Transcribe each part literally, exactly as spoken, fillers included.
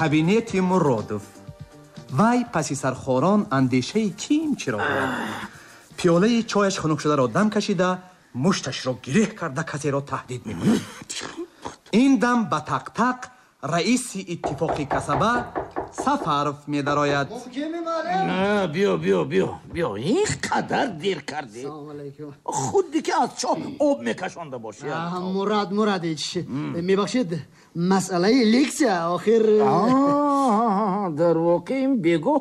Кабинети Муродов. Вай паси сархорон андешаи ким чиро дорад. Пиёлаи чояш хунук шударо дам кашида, мушташро гиреҳ карда, касеро таҳдид мекунад. Ин дам ба тақ-тақ раиси иттифоқи касаба Сафаров медарояд. Биё, биё, биё, биё, ин қадар дер кардӣ, худди ки аз чоҳ об мекашонда бошӣ. Мурад Мурадович, мебахшед, масъалаи лексия охир. Дар воқеъ ин бегоҳ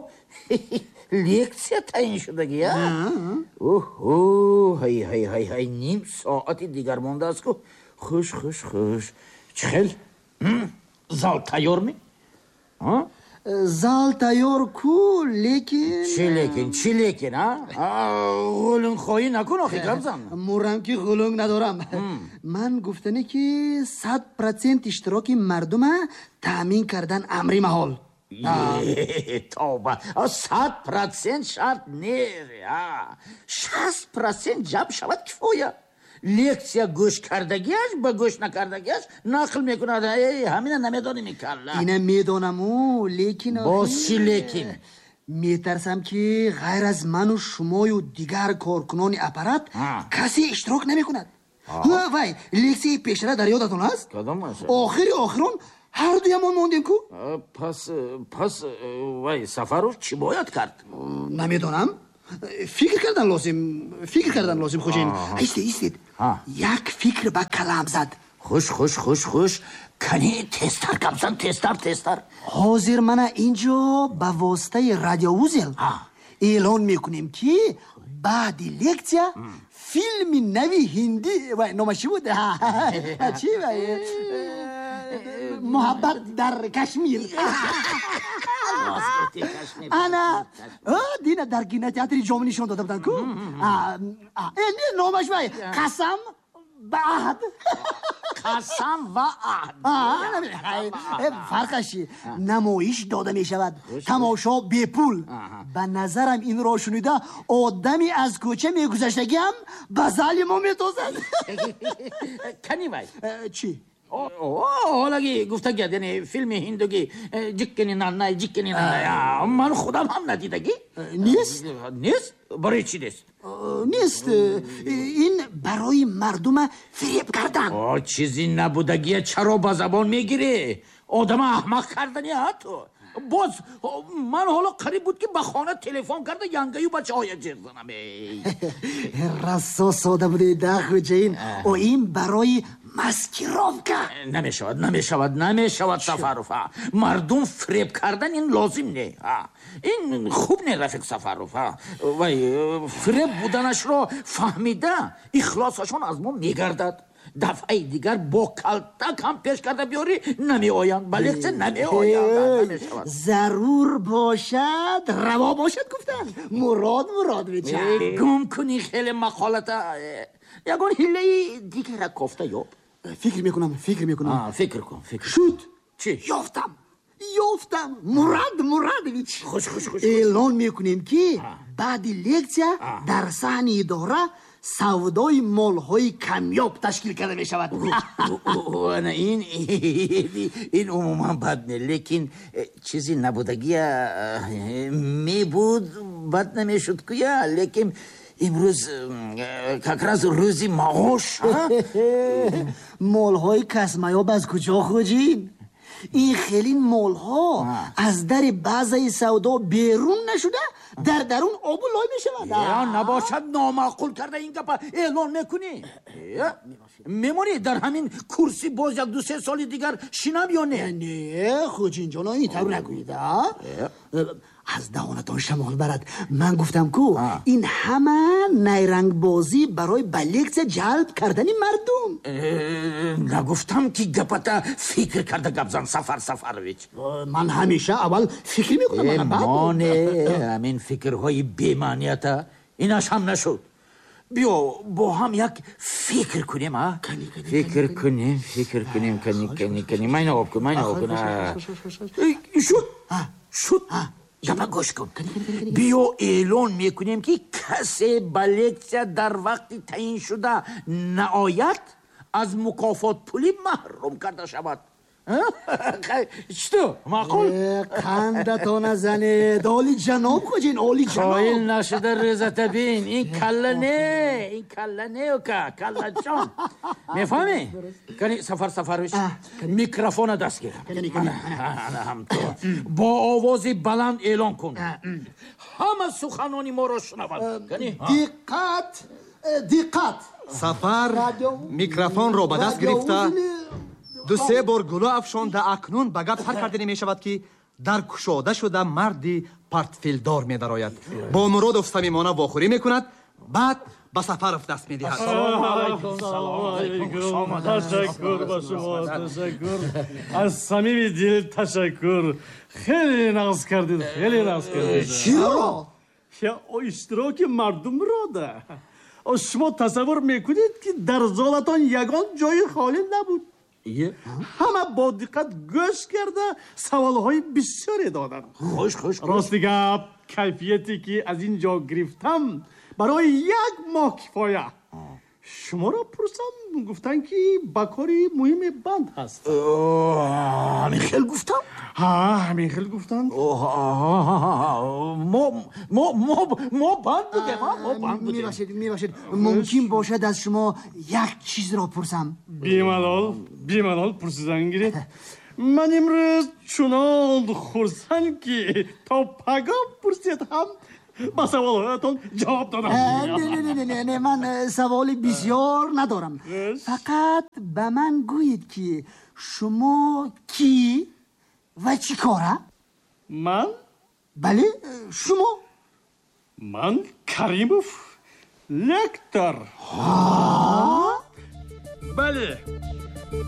лексия таъин шудагӣ, а? Оҳо, ҳай, ҳай, ҳай, ҳай, ним соати дигар мондааст ку. Хуш, хуш, хуш. Чӣ хел, зал тайёр ми? Зал тайёр ку, лекин. Чӣ лекин, чӣ лекин? А, ғулунхоҳӣ накун охи, гап зан. Мурам ки ғулунг надорам. Ман гуфтанӣ ки сад процент иштироки мардума таъмин кардан амри маҳол. Тоба, сад процент шарт не, шаст процент ҷамъ шавад, кифоя. Лексия гӯш кардагиаш ба гӯш накардагиаш нақл мекунад. Ҳамина намедонем, калла. Ина медонаму, лекин. Боз чӣ лекин? Метарсам ки ғайр аз ману шумою дигар коркунони аппарат касе иштирок намекунад. Вай лексияи пештара дар ёдатон аст? Охири охирон ҳар дуямон мондем ку. Пас, пас вай, Сафаров, чӣ бояд кард? Намедонам, фикр кардан лозим, фикр кардан лозим, хоҷаин. Истед, истед, як фикр ба калам зад. Хуш, хуш, хуш, хуш. Кани, тезтар гап зан, тезтар, тезтар. Ҳозир мана инҷо ба воситаи радиоузел эълон мекунем, ки баъди лексия филми нави ҳиндӣ, вай номаш чӣ буд, чи, «Муҳаббат дар Кашмир», ана дина дар кинотеатри Ҷомӣ нишон дода буданд ку, не, номаш вай «Қасам ба аҳд». «Қасам ва аҳд». Фарқаш чи, намоиш дода мешавад, тамошо бепул. Ба назарам, инро шунида, одами аз кӯча мегузаштагиам ба зали мо метозад. Кани вай. Чӣ? Ҳолаги гуфтагият, яъне филми ҳиндуги «Ҷиккини наннай, ҷиккини наннай», ман худам ҳам надидагӣ. Нест. Нест? Барои чӣ нест? Нест, ин барои мардума фиреб кардан. Чизи набудагия чаро ба забон мегирӣ? Одама аҳмақ кардани ҳатто. Боз ман ҳоло қариб буд, ки ба хона телефон карда, янгаю бачаҳоя ҷеғ занам. Расо сода будед да, хуҷаин. О, ин барои маскировка. Намешавад, намешавад, намешавад, Сафаров. Мардум фиреб кардан ин лозим не, ин хуб не, рафиқ Сафаров. Вай фиреб буданашро фаҳмида, ихлосашон аз мо мегардад. Дафъаи дигар бо калтак ҳам пеш карда биёрӣ, намеоянд, ба лексия намеоянд, намешавад. Зарур бошад, раво бошад, гуфтанд, Мурод Муродович. Гум кунӣ хеле мақолата, ягон ҳиллаи дигара кофта ёб. Фикр мекунам, фикр мекунам. Фикр кун, фикр. Шуд. Чӣ? Ёфтам, ёфтам, Мурад Мурадович. Хуш, хуш, хуш. Эълон мекунем, ки баъди лексия дар саҳни идора савдои молҳои камёб ташкил карда мешавад. Ана ин ин умуман бад не, лекин э, чизи набудагия э, мебуд, бад намешуд куя, лекин имрӯз э, как раз рӯзи маош. Молҳои касмаёб аз куҷо, хуҷин? Ин хелин молҳо аз дари базаи савдо берун нашуда, дар дарун обу лой мешавад. Набошад, номаъқул карда ин гапа эълон мекунӣ, мемонӣ дар ҳамин курсӣ боз як ду се соли дигар шинам ё не? Не, хуҷинҷоно, ин тавр нагӯед, аз даҳонатон шамол барад. Ман гуфтам ку, ин ҳама найрангбозӣ барои ба лексия ҷалб кардани мардум. Нагуфтам, ки гапата фикр карда гап зан, Сафар Сафарович? Ман ҳамеша аввал фикр мекунам. Моне ҳамин фикрҳои бемаънията, инаш ҳам нашуд. Биё, бо ҳам як фикр кунем, а, фикр кунем, фикр кунем. Кани, кани, кани, майна об кун, майна об кун. Шуд, шуд, гапа гӯш кун. Биё, эълон мекунем, ки касе ба лексия дар вақти таъиншуда наояд, аз мукофотпулӣ маҳрум карда шавад. Чӣ маъқул? Қандатона занед, олиҷаноб, хоҷин, олиҷаноб. Қоил нашуда рӯзата бин, ин калла не, ин калла не, ука, каллаҷон. Мефаҳмӣ? Кани, Сафар Сафарович, микрофона даст гир. Ана ҳам ту. Бо овози баланд эълон кун. Ҳама суханони моро шунаванд. Кани? Диққат, диққат! Сафар микрофонро ба даст гирифта, ду се бор гулӯ афшонда, акнун ба гап сар карданӣ мешавад, ки дар кушода шуда, марди портфелдор медарояд, бо Муродов самимона вохӯрӣ мекунад, баъд ба Сафаров даст медиҳад. Ташаккур ба шумо, ташаккур, аз самими дил ташаккур. Хеле нағз кардед, хеле нағз кардед. Чиро? Иштироки мардумро да. Шумо тасаввур мекунед, ки дар золатон ягон ҷои холӣ набуд. Ҳама бо диққат гӯш карда, саволҳои бисёре доданд. Хуш, хуш. Рости гап, кайфияте ки аз ин ҷо гирифтам, барои як моҳ кифоя. Шуморо пурсам, гуфтанд, ки ба кори муҳиме банд ҳаст. Ҳамин хел гуфтам? Ҳа, ҳамин хел гуфтанд. мо мо мо мо банд будем, мо банд будем. Мебахшед, мебахшед, мумкин бошад, аз шумо як чизро пурсам? Бемалол, бемалол пурсидан гиред. Ман имрӯз чунон хурсанд, ки то пагоҳ пурсед ҳам ба саволҳоятон ҷавоб додам. Не, не, не, не, ман саволи бисёр надорам. Фақат ба ман гӯед, ки шумо кӣ ва чӣ кора? Ман? Бале, шумо. Ман Каримов, лектор. Бале.